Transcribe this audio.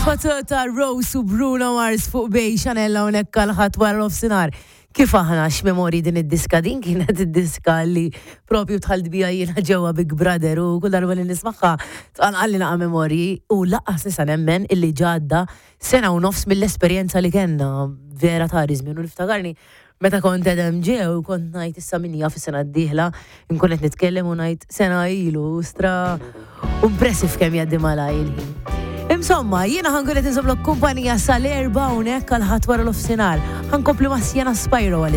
Patata Rose u Bruno Mars fuq Bay Chanel hawnhekk għal ħadd wara nofsinhar. Kif aħna x'memorji din id-diska din kienet id-diska li propju dħalt bija jiena ġewwa Big Brother u kull darba li nismagħha tqanqalli naqa' memorji u lanqas nista' nemmen illi ġadda sena u nofs mill-esperjenza li kellna vera tari żmien u niftakarni meta kont edem ġew kont ngħid issa min jaf is-sena d-dieħla nkun qed nitkellem u ngħid sena ilu stra impressive kemm jgħaddi malaj il-ħin. Insomma, jiena ħankun qed inżommlok kumpanija sal-erba' hawnhekk għal ħadd wara l-ofsinhar. Ħankompli ma' Sienna Spyro għal.